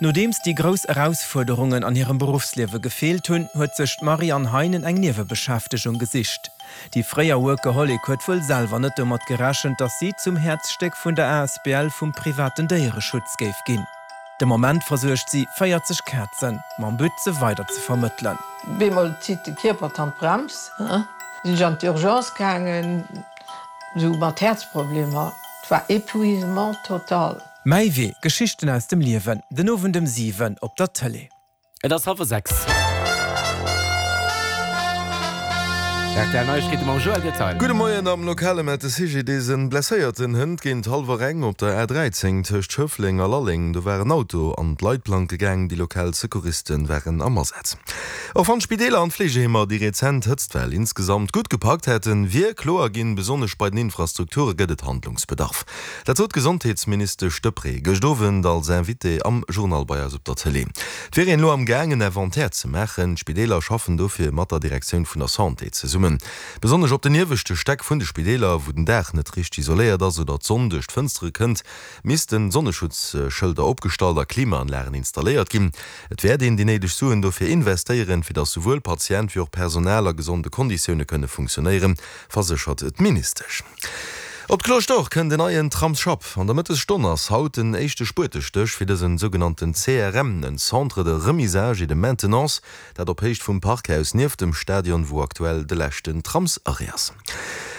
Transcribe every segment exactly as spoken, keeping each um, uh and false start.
Nodeems déi grouss Erausfuerderungen an hirem Beruffsliewe gefeelt hunn, huet sech d'Marianne Heinen eng Niewebeschäftegung gesicht. Déi fréier Workaholic huet wuel selwer net domat gerechent, dass si zum Häerzstéck vun der A S B L vum privaten Déiereschutz géif ginn. De Moment versuergt si véierzeg Kazen, mam But se weider ze vermëttelen. Bemol zitt de Kierper d'Handbrems, sinn ech an d'Urgence gaangen, sou mat Häerzproblemer. Et war épuisement total. Mäi Wee, Geschichten aus dem Liewen, den Owend ëm siwen op der Tëlee. Et ass hallwer sechs. R T L Neiegkeete mam Joël Detail. Gudde Moien, Am Lokale mellt de C G D S en Blesséierten hënt géint hallwer eng op der A dräizéng tëscht Schëffleng a Lalleng. Do war en Auto an d'Leitplanke gaang, déi lokal Secouriste waren am Asaz. Och wann d'Spideeler an d'Fleegeheemer déi rezent Hëtztwell insgesamt gutt gepackt hätten, wier kloer ginn, besonnesch bei den Infrastrukture gëtt et Handlungsbedarf. Dat sot d'Gesondheetsministesch Deprez gëscht Owend als Invitée am Journal bei eis op der Tëlee. Et wier een elo am Gaang en Inventaire ze maachen. D'Spideeler schaffen dofir mat der Direktioun vun der Santé zesummen. Besonnesch op den ieweschte Stäck vun de Spideeler, wou den Daach net richteg isoléiert ass oder d'Sonn duerch d'Fënstere kënnt, missten Sonneschutzschëlder opgestallt a Klimaanlagen installéiert ginn. Et wäert een déi néideg Suen dofir investéieren, fir datt souwuel Patient wéi och Personal a gesonde Konditioune kënne funktionéieren, verséchert d'Ministesch. Op d'Cloche d'Or kënnt en neien Tramsschapp. An der Mëttesstonn ass haut den éischte Spuetestéch fir dësen sougenannten C R M, en Centre de remisage et de maintenance, dat op Héicht vum Parkhaus nieft dem Stadion, wou aktuell de leschten Tramsarrêt ass.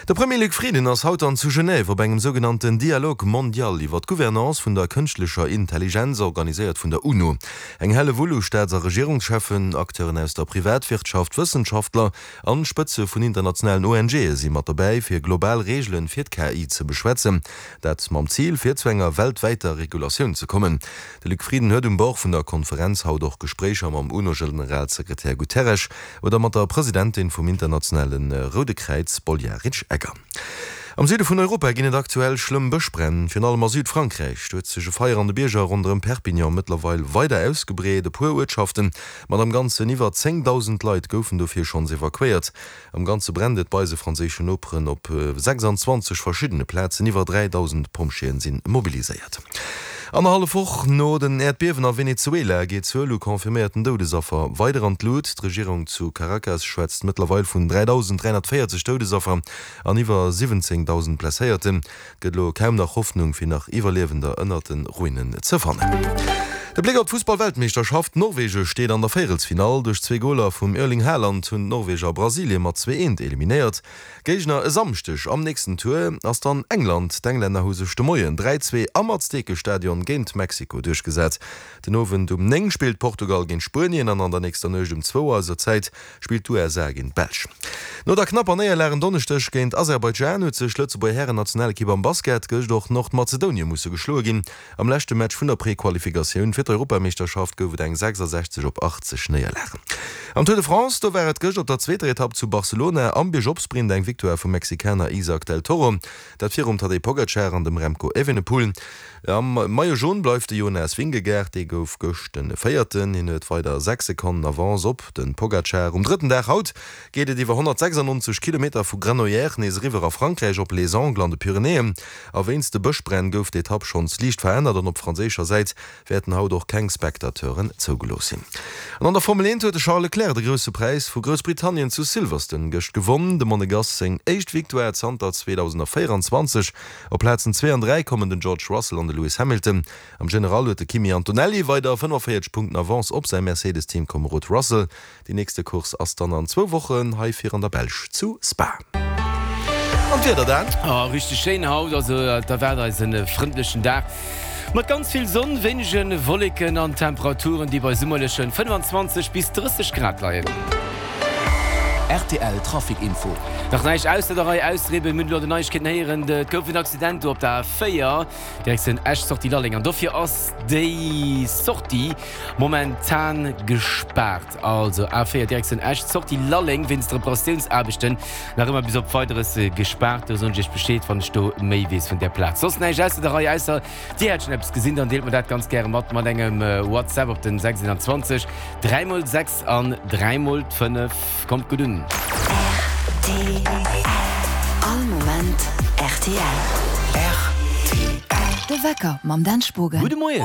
De Premier Luc Frieden ass haut an zu Genève op engem sougenannten Dialogue mondial iwwer d'Gouvernance vun der kënschtlecher Intelligenz, organiséiert vun der UNO. Eng Hellewull u Staats a Regierungscheffen, Acteuren aus der Privatwirtschaft, Wëssenschaftler an Spëtze vun internationalen O N G'e si mat dobäi, fir global Reegele fir d'K I ze beschwätzen. Dat mam Zil, fir zu enger weltwäiter Regulatioun ze kommen. De Luc Frieden huet um Bord vun der Konferenz haut och Gespréicher mam UNO-Generalsekretär Guterres oder mat der Presidentin vum internationale Roude Kräiz Spoljaric Egger. Am Süde vun Europa ginn et aktuell schlëmm Bëschbränn, virun allem a Südfrankräich. Do huet sech e Feier an de Bierger ronderëm Perpignan mëttlerweil weider ausgebreet. E puer Uertschaften mat am Ganzen iwwer zéngdausend Leit goufen dofir schonns evakuéiert. Am Ganze brennt et bei eise franséischen Noperen op sechsanzwanzeg verschiddene Plazen, iwwer dräidausend Pompjeeën si mobiliséiert. Annerhallef Woch no den Äerdbiewen a Venezuela geet d'Zuel u confirméierten Doudesaffer weider an d'Lut. D'Regierung zu Caracas schwätzt mëttlerweil vun dräidausend dräihonnertvéierzeg Doudesaffer an iwwer siwwenzéngdausend Blesséierten. Et gëtt elo kaum nach Hoffnung, fir nach Iwwerliewender ënnert de Ruinen ze fannen. De Bléck op d'Fussball-Weltmeeschterschaft, Norwege steet an der Véierelsfinall. Duerch zwee Goler vum Erling Haaland hunn d'Norweger Brasilie mat zwee eent eliminéiert. Géigner e Samschdeg am nächsten Tour ass dann England. D'Englänner hu sech de Moien dräi zwee am Aztekestadion géint Mexiko duerchgesat. Den Owend um néng spillt Portugal géint Spuenien an an der nächster Nuecht um zwou eiser Zäit spillt d'U S A géint d'Belsch. No der knapper Néierlag en Donneschdeg géint Aserbaidschan huet sech d'Lëtzebuerger Hären-Nationalekipp am Basket gëscht och Nordmazedonie musse geschloe ginn. Am leschte Match vun der Prequalifikatioun fir d'Europameeschterschaft gouf et eng sechsasechzeg op achtzeg Néierlag. Am Tour de France, do war et gëscht op der zweeter Etapp zu Barcelona am Biergopsprint eng Victoire vum Mexikaner Isaac del Toro, dat virum Tadej Pogacar an dem Remco Evenepoel. Am Maillot Jaune bleift de Jonas Vingegaard, dee gouf gëscht de Véierten, hien huet weider sechs Sekonnen Avance op de Pogacar. Um drëtten Dag haut geet et iwwer honnertsechsannonzeg Kilometer vu Granollers nees eriwwer a Frankräich op Les Angles an de Pyrenäen. A wéinst de Bëschbränn gouf d'Etapp schonns liicht verännert an op franséischer Säit wäerten haut och keng Spectateuren zougelooss sinn. An an der Formel eent huet de Charles Leclerc de Grousse Präis vu Groussbritannien zu Silverstone gëscht gewonn. De Monegass seng éischt Victoire zanter zweedausendvéieranzwanzeg. Op Plazen zwee an dräi kommen den George Russell an de Lewis Hamilton. Am General huet de Kimi Antonelli weider fënnefenvéierzeg Punkten Avance op säi Mercedes-Teamkomerod Russell. Déi nächste Course ass dann an zwou Wochen hei vir an der Belsch zu Spa. An d'Wieder dann? Oh, richteg schéin haut, also da waart eis e frëndlechen Dag mat ganz vill Sonn, wéinege Wolleken an Temperaturen, déi bei summerleche fënnfanzwanzeg bis drësseg Grad leien. R T L Trafic Info. Nach näischt ausser der Rei ausriwwen, mir hunn elo den Neiegkeeten héieren, et gouf en Accident do op der A véier, Direktioun Esch, Sortie Lalleng, an dofir ass déi Sortie momentan gespaart. Also A véier Direktioun Esch, Sortie Lalleng wéinst Reparatiounsaarbechten nach ëmmer bis op Weideres gespaart. Do soen ech iech Bescheed, wann ech do méi weess vun där Plaz. Soss näischt ausser der Rei, ausser dir hätt schonn eppes gesinn, dann deelt mer dat ganz gäre mat mat engem WhatsApp op den sechs eent zwou dräi mol sechs an dräi mol fënnef. Kommt gutt un! R T L. All Moment R T L. R T L. De Wecker mam Dan Spogen. Gudde Moien!